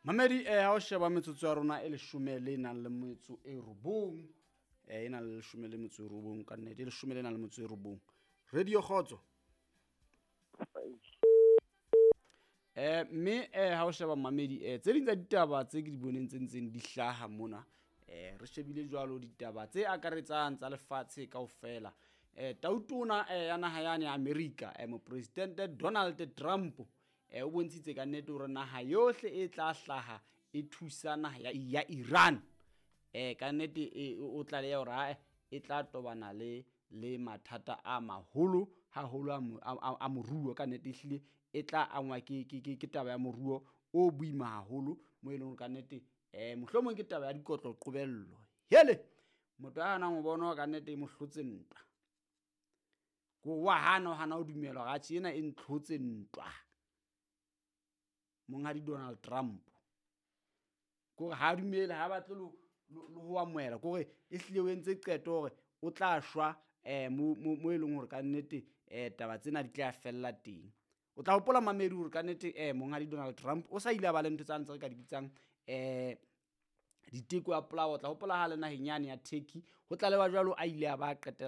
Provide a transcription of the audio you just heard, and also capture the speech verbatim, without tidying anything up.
Mamedi, eh ha o sheba metsotso ya rona e leshome le nang le metso e robong, eh e nang le leshome le metso e robong ka nnete, e leshome le nang le metso e robong. Radio Kgotso. Eh mme eh ha o sheba mamedi, eh tse ding tsa ditaba tse ke di boneng tse ntseng di hlaha mona, eh re shebile jwalo ditaba tse akaretsang tsa lefatshe kaofela. Eh tautona eh ya naha yane ya America, eh mopresidente Donald Trump, eh o bontshitse ka nnete hore naha yohle e tla hlaha e thusa naha ya, ya Iran. Eh ka nnete e, o tlaleha hore ha e tla tobana le le mathata a maholo haholo a mo-, a, a, a moruo. Ka nnete ehlile e tla angwa ke, ke, ke, ke taba ya moruo o boima haholo, mo e leng hore ka nnete, eh, mohlomong ke taba ya dikotlo qobello. Hele, motho a hanang ho bona ka nnete e mo hlotse ntwa. Ko wa hana, o hana ho dumela hore atjhe ena e ntlhotse ntwa. Monghadi Donald Trump. Kore ha dumele, ha batle lo, lo, lo ho amohela. Kore ehlile o entse qeto hore o tla shwa, eh, mo, mo, mo e leng hore ka nnete, eh, taba tsena di tla fella teng. O tla hopola mamedi hore ka nnete, eh, monghadi Donald Trump o sa ile a ba le ntho tsa ntse re ka di bitsang, eh, diteko ya polao. O tla hopola ha le naheng yane ya Turkey, ho tlalewa jwalo a ile a ba qetella